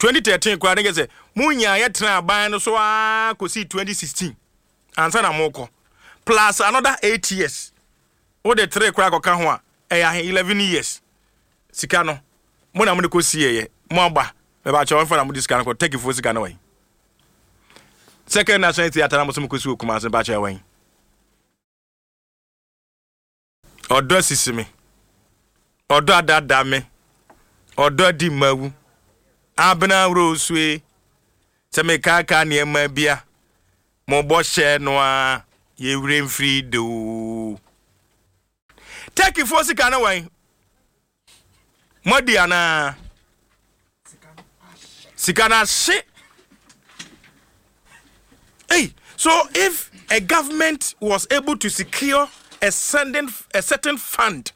2013 koraa ne kɛ sɛ mo nyaayɛ tena aban no so ara kɔsii 2016 ansa na mokɔ plus another 8 years wode 3 koraa kɔka ho a ɛyɛ ahe 11 years sika no mo na mode kɔsieɛ mo aba mɛbakyɛ wɔmfa na mode sika no kɔ Turkeyfoɔ sika no wɛn Second National Theatre na mo so mokɔsi wɔ Kumase mebakyɛ wɛn Ɔdɔ asisi me. Ɔdɔ adaadaa me. Ɔdɔ adi mawu. Abena Rosue, sɛ mekaakaa nneɛma bi a, mo bɔhyɛ no a yɛwerɛ mfiri de o. Turkeyfoɔ sika no wɛn? Moadi anaa? Sika no ahye. Hey, so if a government was able to secure a sending a certain fund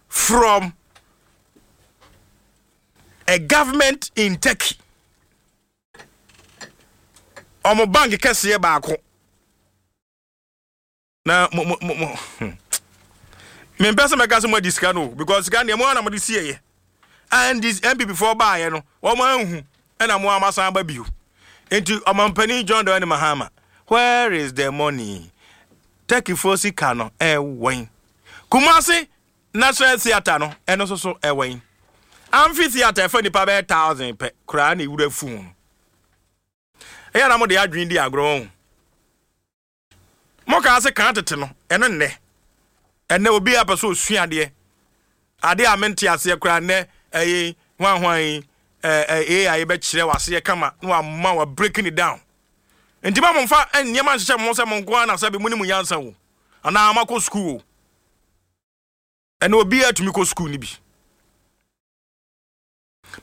from a government in Turkey, ɔmo bank kɛseɛ baako na mo mo mo mo hmm. mempɛ sɛ mɛka sɛ moadi sika no because sika deɛ mo ara na mode sieɛ a NDC NPP foɔ baayɛ no wɔn anhu ɛna mo ara masan aba bio nti ɔmampanin John Dramani Mahama where is the money Turkeyfoɔ sika no ɛwɛn Kumasi National Theatre no ɛno nso so ɛwɛn Amphitheatre ɛfa nipa bɛyɛ thousand pɛ koraa na ewura fu no ɛyɛ na mo de adwene di agorɔ ho. Mokaa se kan tete no, ɛno nnɛ. Ɛnnɛ obiara pɛ sɛ osua adeɛ. Adeɛ a mente aseɛ koraa nnɛ ɛyi hwan hwan yi ɛɛ AI bɛkyerɛ w'aseɛ kama na wama wa breaking it down. Nti ma momfa nneɛma nhyehyɛ mo ho sɛ mo nko ara na sɛbe mo ne mo nyansa o anaa moakɔ sukuu o. Ɛnɛ obiara tumi kɔ sukuu no bi.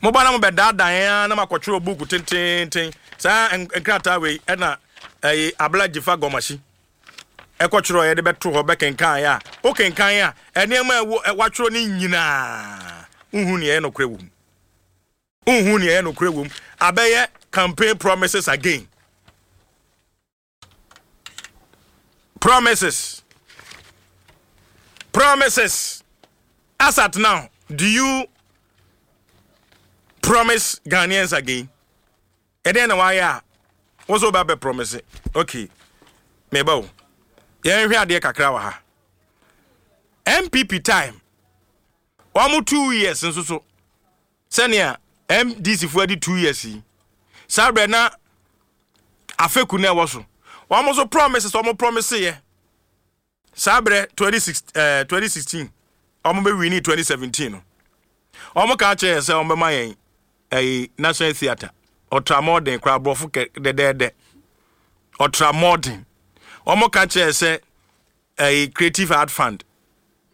Moba na mobɛdaadaa yɛn ara na moakɔtwerɛ buuku tenteenten. Saa nkrataa wei ɛna ɛyi Abla Dzifa Gɔmahyi ɛkɔtwerɛ yɛde bɛto hɔ bɛkenkan a wokenkan a nneɛma a ɛwɔ watwerɛ no nyinaa wohu nea ɛyɛ nokorɛ wɔ mu. Wohu nea ɛyɛ nokorɛ wɔ mu. Abɛyɛ campaign promises again. Promises. Promises. As at now, do you promise Ghanaians again? ɛdɛn na wayɛ a wo sɛ wobɛ promise okay meba o yɛnhwɛ adeɛ kakra wɔ ha npp time wɔn 2 years nso so sɛnea ndc foɔ adi 2 years yi saa berɛ na afeku na ɛwɔ so wɔn nso promises wɔn promise yɛ saa berɛ 26 2016 wɔn bɛ win 2017 no wɔn ka kyerɛ yɛn sɛ wɔn bɛma yɛn ɛyi National Theatre ɔtramɔden koraa aborɔfo kɛ dɛdɛɛdɛ ɔtramɔden wɔn ka kyerɛ sɛ ɛyi Creative Art Fund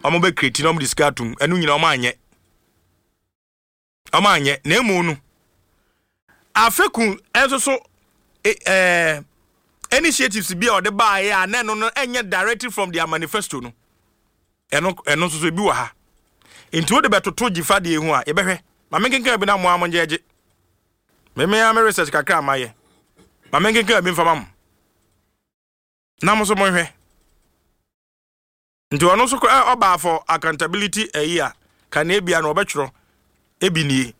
wɔn bɛ create na wɔn de sika atum ɛno nyinaa wɔn anyɛ wɔn anyɛ na emu no afeku nso so initiatives bi a ɔde baayɛ a na ɛno no ɛnyɛ directly from their manifesto no ɛno nso so ebi wɔ ha nti wode bɛtoto gyifa deɛ ho a yɛbɛhwɛ maame nkenkan bi na mo a mo ngyɛgye meme a me research kakra ama yɛ maame nkenkan bi mfa ma mo na mo nso monhwɛ nti ɔno nso koraa ɔbaa for accountability ɛyi a kanea bia no ɔbɛtwerɛ ebi nie.